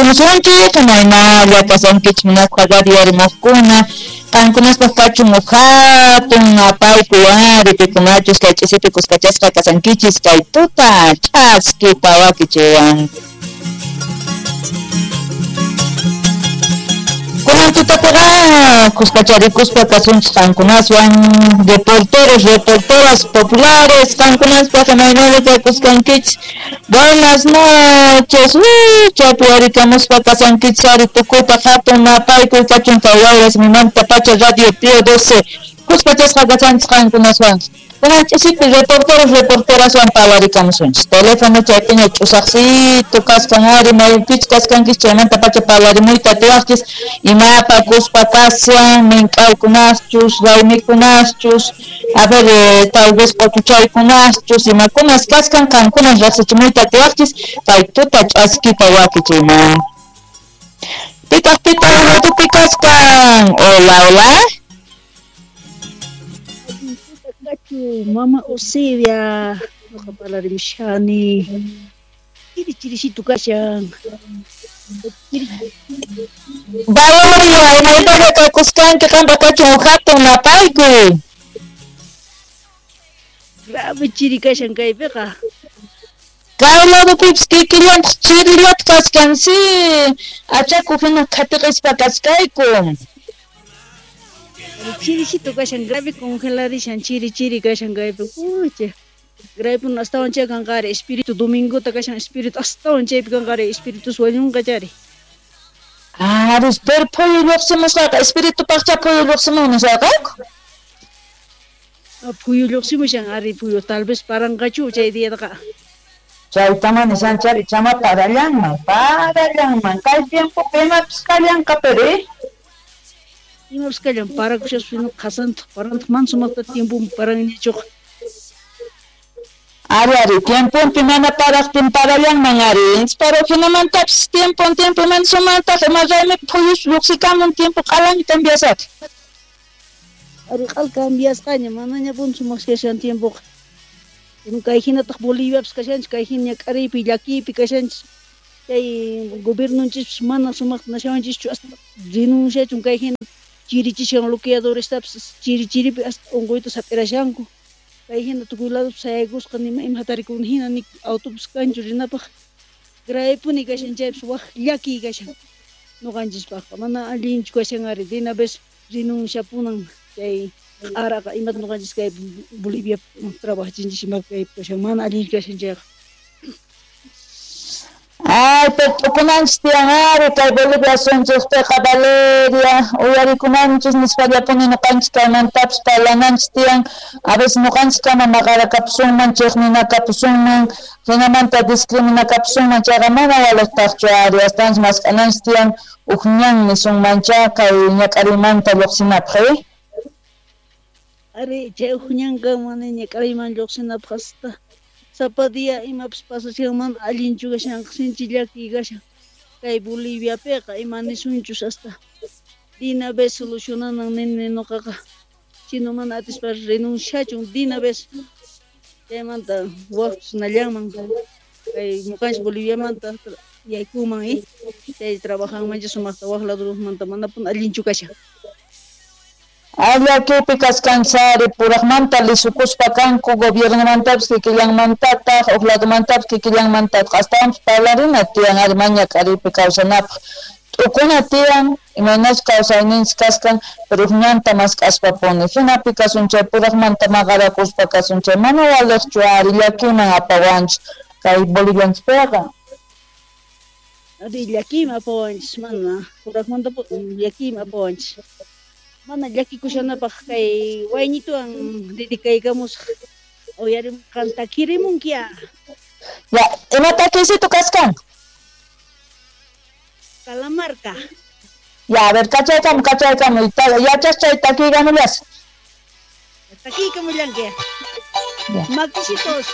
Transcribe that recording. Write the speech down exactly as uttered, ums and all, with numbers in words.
Naparimusunchik, imaynalla kasankichik munasqa radio rimaqkuna, qankunaspaq kachun uj hatun napaykuy ari pikunachus kay ch'isipi kuskachasqa kasankichis kay tuta ch'askita wakichiwan. Kunan tutapiqa kuskacharikuspa kasunchik qankunaswan reporteros, reporteras populares, qankunaspaq imaynalla kakuskankichik. Buenas noches, chaypi warikamuspa kasankichik ari tukuypaq hatun napaykuy kachun kay wayras mimanta pacha Radio Pío doce kuskachasqa kasanchik qankunaswan. Kunan ch'isipi reporteros, reporteraswan parlarikamusunchik. Teléfono chaypiña ch'usaqsito kaskan ari maypichus kaskankichik chaymanta pacha parlarimuyta atiwaqchis imapa kuspa kashan mink'aykunaschus raymikunachus a ver eh, tal vez q'utuchaykunaschus imakunas kaskan qankunas riqsichimuyta atiwaqchis kay tuta ch'askita wakichiyman. Pitaq pitaq ratupi kaskan. Hola, hola. Mama Eusebia, noqa parlarimushani. Chiri chirisitu kashan. Valeria, imaynalla kakuskanki qampa kachun uj hatun napaykuy. Grave chiri kashan kaypiqa. Kay ladupipis kikillantaq chirillata kaskan si achaku hina qhatiqispa kaskayku. Chirisito kashan grave congeladishan chiri chiri kashan kaypi. Pucha. Grave astawan chay kanqari espíritu domingota kashan espíritu astawan chaypi kanqari espíritus wañunqa chari. Ari, pero phuyu lluqsimusqaqa espíritu paqcha phuyu lluqsimun nisqaqaku. Phuyu lluqsimushan ari phuyu tal vez paranqachu chay diataqa. Chaytama nishan chari chama parallanman, parallanman kay tiempopi imapis kallanqa pero eh. Imapis kallan parakushaspa qhasantaq parantaq mana sumaqta tiemponpi paranñachuqa. Ari, ari, tiemponpi mana paraqtin parallanman ari, pero hinamantapis tiempon tiempo mana sumaqtaq ima raymi phuyus lluqsikamun tiempo q'alami cambiasaq. Ari q'al cambiasqaña manaña pun sumaq kashan tiempoqa. Kay hinataq Boliviapis kashanchik kay hina ñak'ariypi llakiypi kashanchik. Chay gobiernonchispas mana sumaqta nashawanchischu hasta renunciachun kay hina chirichishan bloqueadorestapis chiri chiripi hasta unquyta sap'irashanku. Kay hina tukuy ladopi sayaykusqa nima ima hatarikuna hina ni autobús kanchu rinapaq. Gravepuni kashan chaypis wak llakiy kashan ñuqanchispaqqa mana allinchu kashan ari de una vez renunciapunan chay q'araqa imata ñuqanchis kay Bolivia trabajachinchis ima kaypi kashan mana allinchu kashan chayqa. Ay, pero tukunanchis tiyan ari kay Bolivia asunchikpiqa Valeria uyarikunanchis nispallapuni ñuqanchik kaymantapis parlananchis tiyan a veces ñuqanchik kama maqarakapusunman chiqninakapusunman hinamanta discriminakapusunman chayqa mana waliqtaqchu ari astawanchis mask'ananchis tiyan uj ñan nisunmancha kay ñak'ariymanta lluqsinapaq eh. Ari chay uj ñanqa mana ñak'ariyman lluqsinapaq hasta sapa día imapis pasashan mana allinchu kashanqa sinchi llakiy kashan kay Boliviapiqa ima nisunchus hasta de una vez solucionanan nini ñuqaqa chino mana atispa renunciachun de una vez chaymanta waqtus nallanman kay ñuqanchik Boliviamanta yaykuman eh chay trabajanmancha sumaqta waq ladumanta manapuni allinchu kashan. Llakipi kaskanchis ari puraqmanta lisukuspa kanku gobiernomantapis kikillanmantataq uj ladomantapis kikillanmantataq astawanpis parlarina tiyan ari maña k'ariypi kawsanapaq t'ukuna tiyan imaynachus kawsayninchik kaskan pero uj ñanta mask'aspapuni hinapi kasun chay puraqmanta maqarakuspa kasun chay mana waliqchu ari llakiman apawanchik kay Bolivianchikpiqa. Ari llakiyman apawanchis mana puraqmanta llakiyman apawanchis. Mana llakikushanapaq kay wayñituwan dedicaykamusaq uyarimunqan takirimunkiya. Ya, ima takiysitu kaskan? Calamarca. Ya, a ver, kachaykamu, kachaykamu, yachas chay takiykamullas. Takiykamullanki. Makisitos.